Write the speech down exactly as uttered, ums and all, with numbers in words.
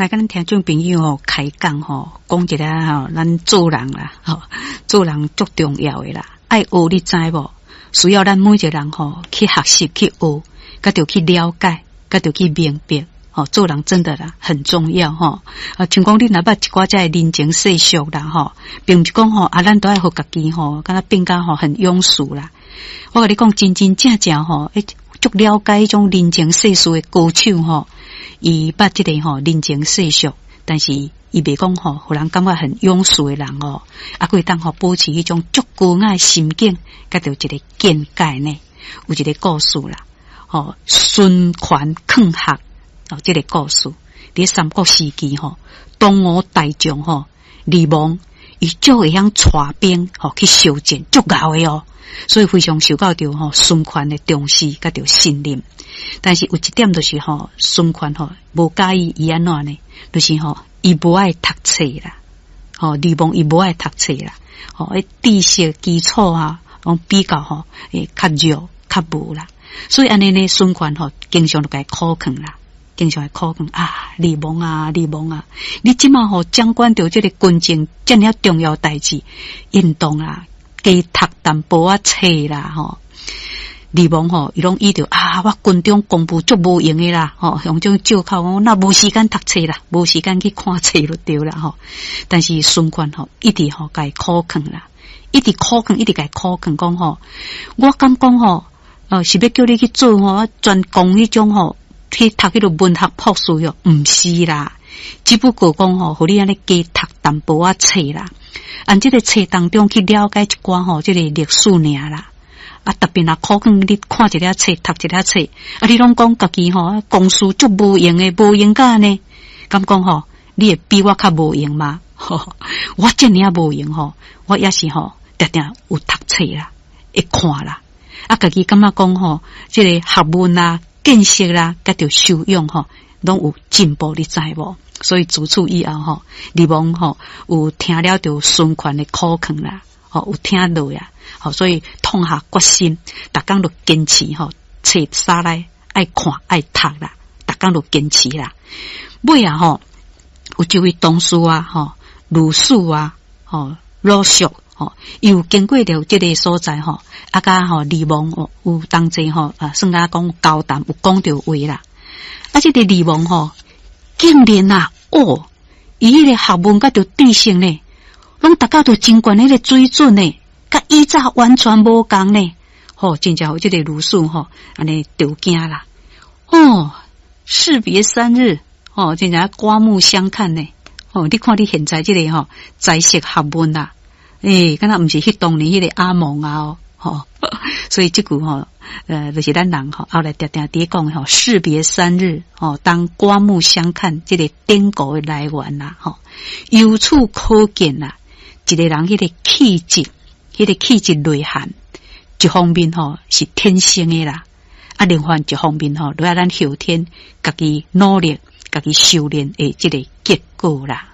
來佮咱聽眾朋友吼開講吼，講一下吼，咱做人啦，吼，做人足重要的啦，愛學你知無？需要咱每一個人吼去學習去學，佮著去了解，佮著去明白。吼，做人真的啦很重要吼。啊，像講你若捌一寡這个人情世俗啦吼，並毋是講吼啊，咱都愛予家己吼，敢若變甲吼很庸俗啦。我共你講，真真正正吼，欸，足了解彼種人情世事的高手吼，伊捌這个吼人情世俗，但是伊袂講吼，予人感覺很庸俗的人哦，啊，閣會當吼保持彼種足高雅的心境，佮著一个見解呢，有一個故事啦，吼，孫權勸學哦，這个故事佇三國時期吼，東吳大將吼呂蒙，伊足會曉帶兵吼去相戰，足𠢕的哦，所以非常受到著吼孫權的重視，佮著信任。但是有一點就是吼，孫權吼無佮意伊按怎呢？就是吼，伊無愛讀冊啦，吼，呂蒙伊無愛讀冊啦，吼，彼知識基礎啊，攏比較吼，會較弱較無啦。所以按呢呢，孫權吼經常就共伊苦勸啦，經常會苦勸啊，呂蒙啊，呂蒙啊，你這馬吼掌管著這个軍政遮爾重要代誌，應當啊，加讀淡薄仔冊啦，吼。呂蒙吼，伊攏以著啊，我軍中公務足無閒的啦，吼，用這種借口講，那無時間讀冊啦，無時間去看冊就對啦，吼。但是孫權吼，一直吼共伊苦勸啦，一直苦勸，一直共伊苦勸，講吼，我敢講吼，呃，是欲叫你去做吼，專攻彼種吼，去讀彼个文學博士喲，毋是啦，只不過講吼，予你按呢加讀淡薄仔冊啦，按這个冊當中去了解一寡吼，這个歷史爾啦。啊，特別若苦勸你看一下冊，讀一下冊，啊，你攏講家己吼，公事足無閒的，無閒甲按呢？敢講吼，你會比我較無閒嗎？我遮爾仔無閒吼，我也是吼，定定有讀冊啦，會看啦。啊，家己感覺講吼，這个學問啦、見識啦，佮著修養吼，攏有進步，你知無？所以自此以後吼，呂蒙吼有聽了著孫權的苦勸啦，吼有聽落啊。吼，所以痛下決心，逐工都堅持吼，冊捎來愛看愛讀啦，逐工都堅持啦。尾啊吼，有一位同事啊吼，呂澍啊吼，呂肅吼，伊有經過著這个所在吼，啊佮吼呂蒙哦有同齊吼啊，算講講交談有講著話啦。啊，這个呂蒙吼，竟然啊，哦，伊彼个學問佮著知識呢，攏達到著真懸彼个水準呢。佮以早完全無仝呢，吼，真正予這个呂澍吼，按呢著驚啦，哦，士別三日，吼，真正刮目相看呢，吼，你看你現在這个吼，才識學問啦，欸，敢若毋是彼當年彼个阿蒙啊，哦，吼，所以這句吼，呃，就是咱人吼，後來定定佇講吼，士別三日，吼，當刮目相看，這个典故的來源啦，吼，由此可見啦，一个人彼个氣質。彼个氣質內涵，一方面吼是天生的啦，啊，另外一方面吼，都愛咱後天家己努力、家己修煉的這个結果啦。